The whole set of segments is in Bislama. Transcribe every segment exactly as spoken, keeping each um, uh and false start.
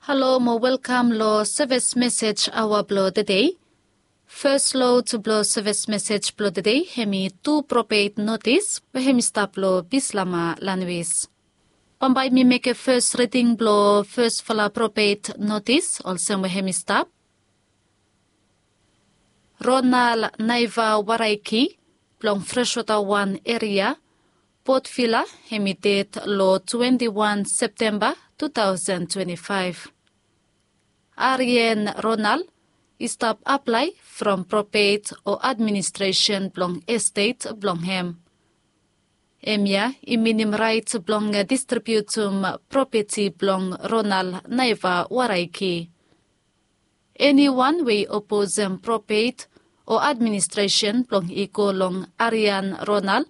Halo mo welkam lo sevis mesej aoa blo tede. Fes lod blo sevis mesej blo tede hemi tu propet notis we hemi stap lo Bislama lanwis. Bambae mi mekem fes riding blo fesfala propet notis olsem we hemi stap. Ronal Naiva Waraiki blong Freswota wan eria, Port Vila, hemi ded lo twenti wan Septemba tu taosen twenti faef. Arien Ronal i stap aplae from propet o administresen blong estet blong hem. Hemia i minim raet blong distribiutum propeti blong Ronal Naiva Waraiki. Eniwan we i oposem propet o administresen blong i go long Arien Ronal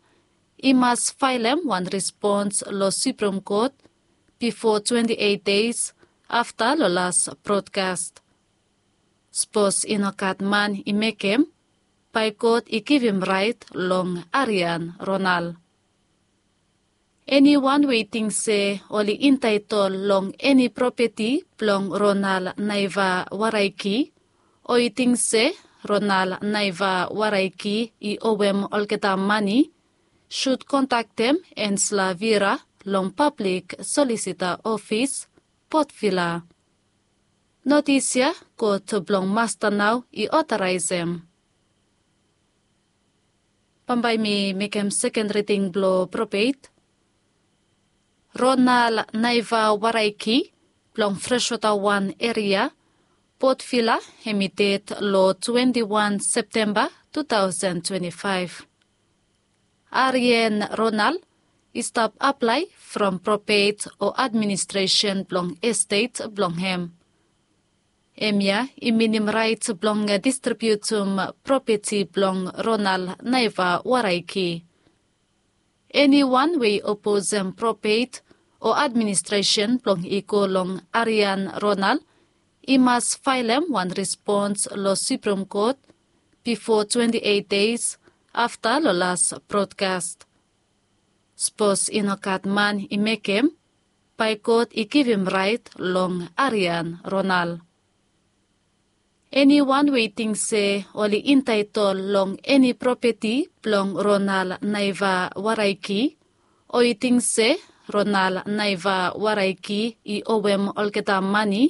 i mas faelem wan respons lo Suprem Kot bifo twenti eit des afta lo las brodkas. Sapos i no gat man i mekem, bae God i givim raet long Arien Ronal. Eniwan we i ting se oli entaetol long eni propeti blong Ronal Naiva Waraiki, o i ting se Ronal Naiva Waraiki i owem olgeta mane, sud kontaktem Ensla Vira long Pablik Solisita Ofis, Port Vila. Notis ya God blong Masta nao i otoraesem. Bambae mi mekem seken riding blo propet. Ronal Naiva Waraiki blong Freswota wan eria, Port Vila, hemi ded lo twenti wan Septemba tu taosen twenti faef. Arien Ronal i stap aplae from propet o administresen blong estet blong hem. Hemia i minim raet blong distribiutum propeti blong Ronal Naiva Waraiki. Eniwan we i oposem propet o administresen blong i go long Arien Ronal i mas faelem wan respons lo Suprem Kot bifo twenti eit des afta lo las brodkas. Sapos i no gat man i mekem, bae God i givim raet long Arien Ronal. Eniwan we i ting se oli entaetol long eni propeti blong Ronal Naiva Waraiki, o i ting se Ronal Naiva Waraiki i owem olgeta mane,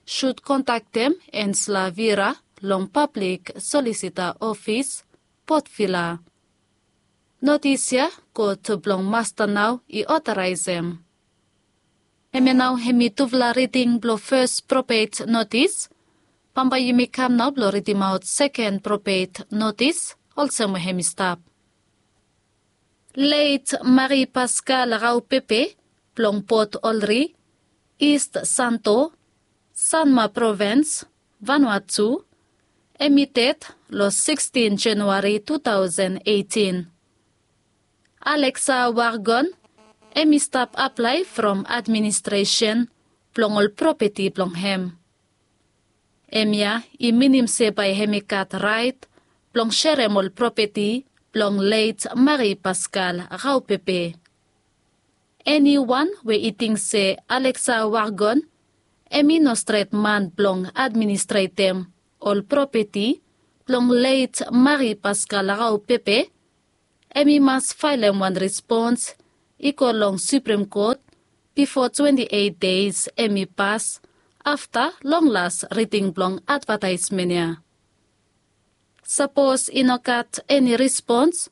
sud kontaktem Ensla Vira long Pablik Solisita Ofis, Port Vila. Notis ya God blong Masta nao i otoraesem. Hemia nao hemi tufala riding blo fes propet notis. Bambae yumi kam nao blo ridimaot seken propet notis olsem we hemi stap. Leit Marie Pascale Raupepe blong Port Olry, East Santo, Sanma Provens, Vanuatu, hemi ded lo sikstin Januari tu taosen eitin. Alexa Wargon hemi stap aplae from administresen blong ol propeti blong hem. Hemia i minim se bae hemi gat raet blong serem ol propeti blong leit Marie Pascale Raupepe. Eniwan we i ting se Alexa Wargon hemi no stret man blong administretem ol propeti blong leit Marie Pascale Raupepe, hemi mas faelem wan respons i go long Suprem Kot bifo twenti eit des hemi pas afta long las riding blong advataesmen ya. Sapos i no gat eni respons,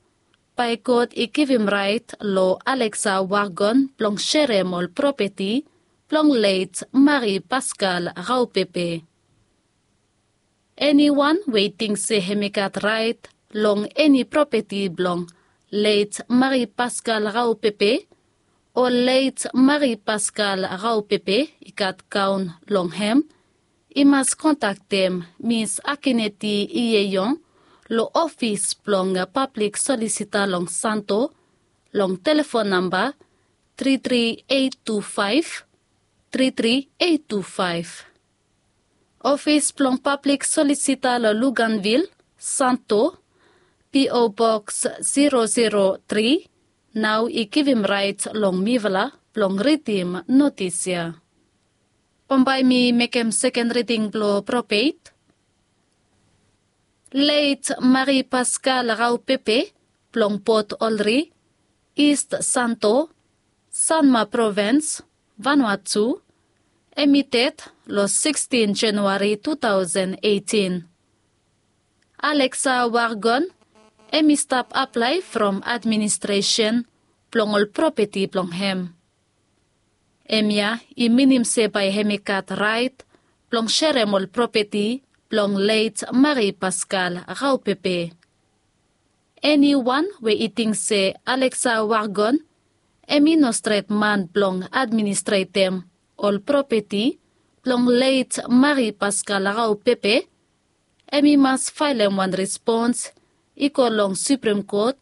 bae God i givim raet lo Alexa Wargon blong serem ol propeti blong leit Marie Pascale Raupepe. Eniwan we i ting se hemi gat raet long eni propeti blong leit Marie Pascale Raupepe o leit Marie Pascale Raupepe i gat kaon long hem, i mas kontaktem Mis Akineti Iyeyon lo ofis blong Pablik Solisita long Santo long telefon namba tri tri eit tu faef, tri tri eit tu faef. Ofis blong Pablik Solisita lo Luganvil, Santo, P O Boks zero zero tri, nao i givim raet long mifala blong ridim notis ya. Bambae mi mekem seken riding blong propet. Leit Mari Paskal Raupepe blong Port Olri, Ist Santo, Sanma Provens, Vanuatu, hem i ded long sikstin Januari tu taosen eitin. Alexa Wargon hem i stap aplae from administresen blong ol propeti blong hem. Hemia i minim se bae hem i gat raet blong serem ol propeti blong leit Mari Paskal Raupepe. Eniwan we i ting se Alexa Wargon hem i no stret man blong administretem ol propeti blong leit Mari Paskal Raupepe, hem i mas faelem wan respons i go long Suprem Kot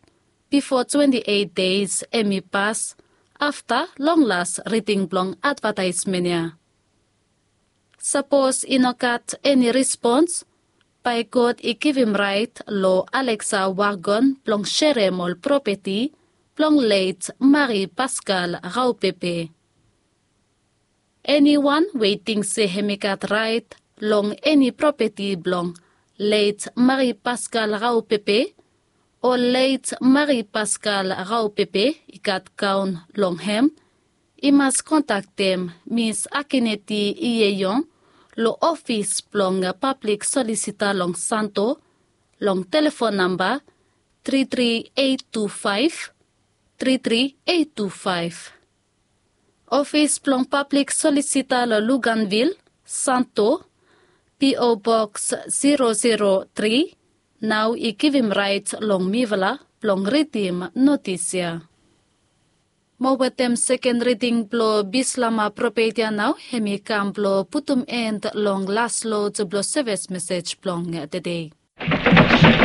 bifo twenti eit deis hem i pas afta long las riding blong advataesmen ya. Sapos i no gat eni respons, bae God i givim raet long Alexa Wargon blong serem ol propeti blong leit Mari Paskal Raupepe. Eniwan we i ting se hem i gat raet long eni propeti blong leit Mari Paskal Raupepe o leit Mari Paskal Raupepe i gat gaon long hem, i mas kontaktem Mis Akineti Ieyong long ofis blong pablik solisita long Santo long telefon namba tri tri eit tu faef, tri tri eit tu faef. Ofis blong pablik solisita long Luganvil, Santo, P O Boks zero zero tri, nao i givim raet long mifala blong ridim notis ya. Mo wetem seken riding blong Bislama propet ya nao hem i kam blong putum en long las lod blong sevis mesej blong tede.